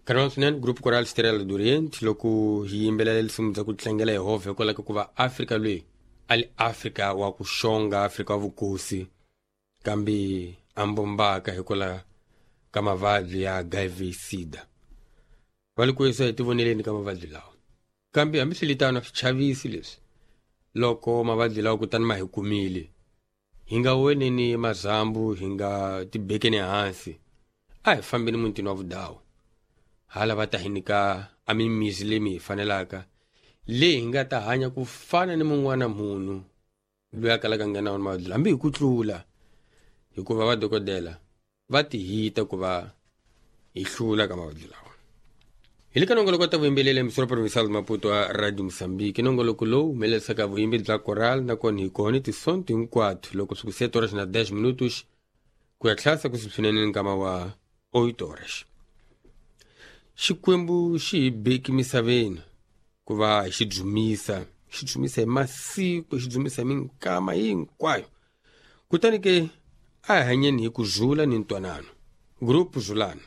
Kanwa swinene Group Coral Estrela do Oriente loko hi yimbelela risimu bya ku tlangela Yehovha hikwalaho ka ku va Afrika loyi a li Afrika wa ku xonga, Afrika wa vukosi, kambe a mbombaka hikwalaho ka mavabyi ya HIV SIDA. Va li ku yisa hi tivoneleni ka mavabyi lawa. Kambe hambiswiritano a swi chavisi leswi loko mavabyi lawa kutani ma hi kumile, hi nga weneni mazambu, hi nga tibekeni hansi, a hi fambeni mutini wa vudawu. Hala va ta hi nyika a mimizi leyi mi hi fanelaka, leyi hi nga ta hanya ku fana ni mun'wana munhu loyi a kalaka nga na wona mavabyi, hambi hi ku tlula, hikuva vadokodela va ti hita ku va hi hlula ka mavabyi lawa. Hi le ka nongoloko ta vuyimbeleri emisoro provincial Maputo wa Radio Mozambique, nongoloko lowu humelerisaka vuyimbeleri bya coral, nakona hi kona tisonto hinkwato loko swi ku 7 horas na 10 minutos ku ya tlhasa ku swinene nkama wa 8 horas. Xikwembu xi hi beki misaveni ku va hi xi dzumisa, xi dzumisa hi masiku, xi dzumisa hi minkama hinkwayo. Kutani ke a hi hanyeni hi ku zula ni ntwanano. Group Zulana.